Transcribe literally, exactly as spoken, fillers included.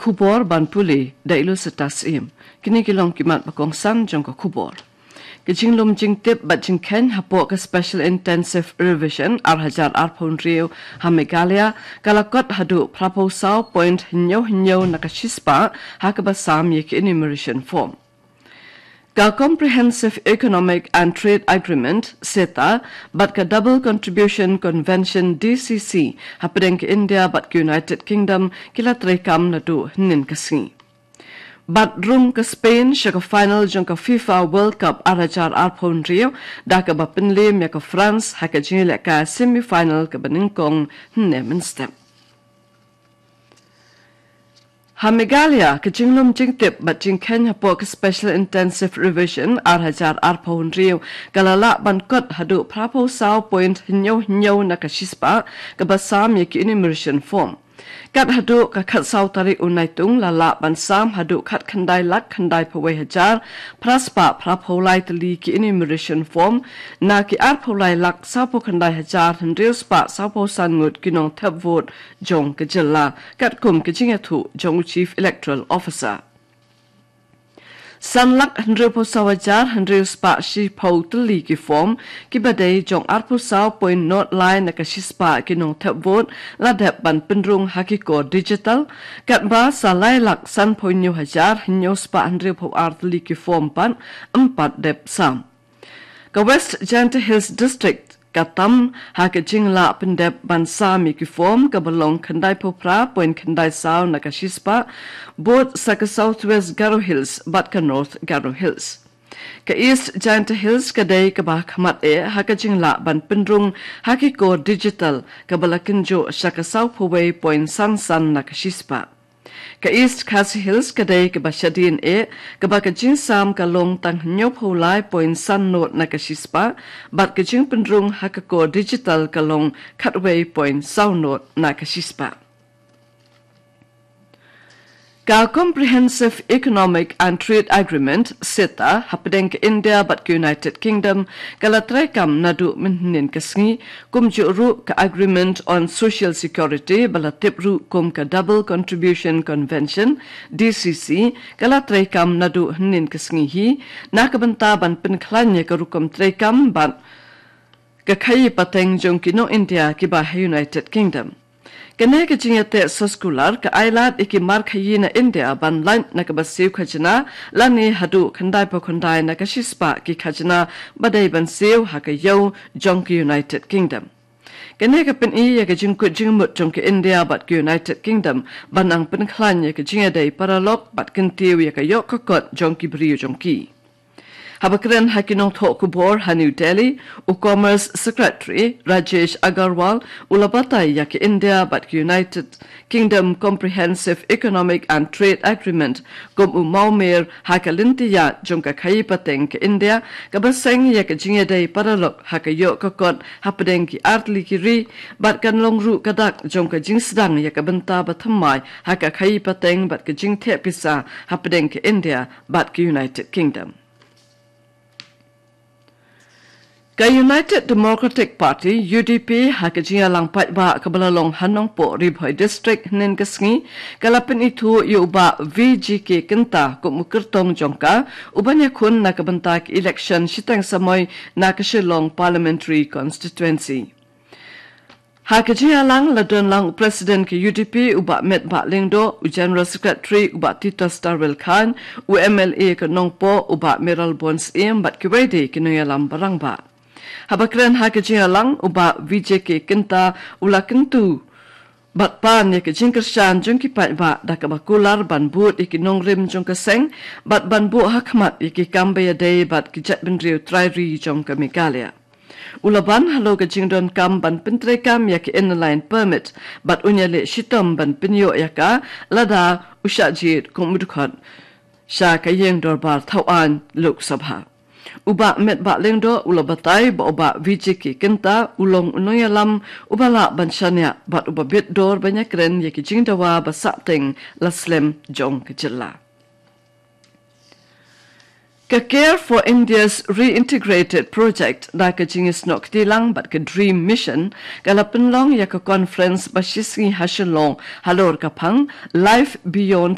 Khubor ban pule da i Lucetta Syiem. Kine ki long ki mat ba kongsan jong ka khubor. Ka jinglum jingtip bad jingkheiñ hapoh ka Special Intensive Revision ar hajar arphew hynriew ha Meghalaya ka la kot haduh phraphew saw point hynñiew hynñiew na ka shispah ha kaba sam ïa ki enumeration form. Ka Comprehensive Economic and Trade Agreement, CETA, bad ka Double Contribution Convention, D C C, hapdeng ka India bad ka United Kingdom ki la treikam naduh hynnin ka sngi. Bad rung ka Spain sha ka final jong ka FIFA World Cup ar hajar arphew hynriew da kaba pynliem ïa ka France ha ka jingïalehkai semi final kaba nyngkong hynne mynstep. Ha Meghalaya, ka jinglum jingtip bad jingkheiñ hapoh ka Special Intensive Revision ar hajar arphew hynriew ka la lah ban kot haduh phraphew saw point hynñiew hynñiew na ka shispah kaba sam ïa ki enumeration form. Kat haduh ka khatsaw tarik u Naitung la lah ban sam haduh khatkhyndai lak khyndaiphew wei hajar phraspah phraphew lai tylli ki enumeration form na ki arphew lai lak sawphew khyndai hajar hynriew spah sawphew san ngut ki nongthep vote jong ka jylla, katkum ka jingïathuh jong u Chief Electoral Officer. San lak hynriewphew saw hajar hynriew spah shiphew tylli ki form kiba dei jong arphew saw point nought lai na ka shispah ki nongthep vote la dep ban pynrung ha ki kor digital, katba sa lai lak sanphew hynñiew hajar hynñiew spah hynriewphew ar tylli ki form pat ym pat dep sam. Ka West Jaintia Hills District ka tam ha ka jinglah pyndep ban sam ïa ki form kaba long khyndaiphew phra point khyndai saw na ka shispah, bud sa ka South West Garo Hills bad ka North Garo Hills. Ka East Jaintia Hills ka dei kaba khmat eh ha ka jinglah ban pynrung ha ki kor digital kaba la kynjoh sha ka sawphew wei point san san na ka shispah. Ka East Khasi Hills ka dei kaba shadien eh, kaba ka jingsam ka long tang hynñiewphew lai point san nought na ka shispah, bad ka jingpynrung ha ka kor digital ka long khatwei point saw nought na ka shispah. Ka Comprehensive Economic and Trade Agreement, CETA, hapdeng ka India bad ka United Kingdom ka la treikam naduh mynhynnin ka sngi, kumjuh ruh ka Agreement on Social Security ba la tip ruh kum ka Double Contribution Convention, D C C, ka la treikam naduh hynnin ka sngi hi, na ka bynta ban pynkhlaiñ ïa ka rukom treikam bad ka khaïi pateng jong ki nong India kiba ha United Kingdom. Kane ka jingïateh soskular ka ailad ïa ki mar khaïi na India ban lait na kaba siew khajna lane haduh khyndaiphew khyndai na ka shispah ki khajna ba dei ban siew ha ka ïew jong ka United Kingdom. Kane ka pyni ïa ka jingkut jingmut jong ka India bad ka United Kingdom ban nang pynkhlaiñ ïa ka jingïadei paralok bad kyntiew ïa ka ïoh ka kot jong ki briew jong ki. Haba kren ha ki nongthoh khubor ha New Delhi, u Commerce Secretary Rajesh Agarwal u la batai ïa ka India bad ka United Kingdom Comprehensive Economic and Trade Agreement kum u mawmer ha ka lynti ïaid jong ka khaïi pateng ka India, kaba seng ïa ka jingïadei paralok ha ka ïoh ka kot hapdeng ki artylli ki ri, bad kan long ruh ka dak jong ka jingsdang ïa ka bynta ba thymmai ha ka khaïi pateng bad ka jingtheh pisa hapdeng ka India bad ka United Kingdom. Ka United Democratic Party, U D P, ha ka jingïalang paidbah kaba la long ha Nongpoh Ri Bhoi District hynnin ka sngi, ka la pynithuh ïa u Bah V G K Kynta kum u kyrtong jong ka, u ban ïakhun na ka bynta ka election shiteng samoi na ka Shillong Parliamentary Constituency. Ha ka jingïalang la don lang u President ka U D P u Bah Metbah Lyngdoh, u General Secretary u Bah Titus Darwell Chyne, u M L A ka Nongpoh u Bah Mayralborn Syiem bad kiwei de ki nongïalam ba rangbah. Haba kren ha ka jingïalang u Bah V J K Kynta u la kyntu bad pan ïa ka jingkyrshan jong ki paidbah da kaba kular ban bud ïa ki nongrim jong ka seng bad ban buh ha khmat ïa ki kam ba ïadei bad ki jaitbynriew trai ri jong ka Meghalaya. U la ban halor ka jingdonkam ban pyntreikam ïa ka Inner Line Permit bad un ïaleh shitom ban pynïoh ïa ka lada u shah jied kum u dkhot sha ka ïing dorbar thawaiñ Lok Sabha. U Bah Metbah Lyngdoh u la batai ba u Bah V J K Kynta u long u nongïalam uba lah ban shaniah bad uba bit dor ban ïakren ïa ki jingdawa ba sahteng la slem jong ka jylla. Ka Care for India's Reintegrated Project da ka jingïasnoh kti lang bad ka DREAM Mission ka la pynlong ïa ka conference ba shisngi ha Shillong halor ka phang Life Beyond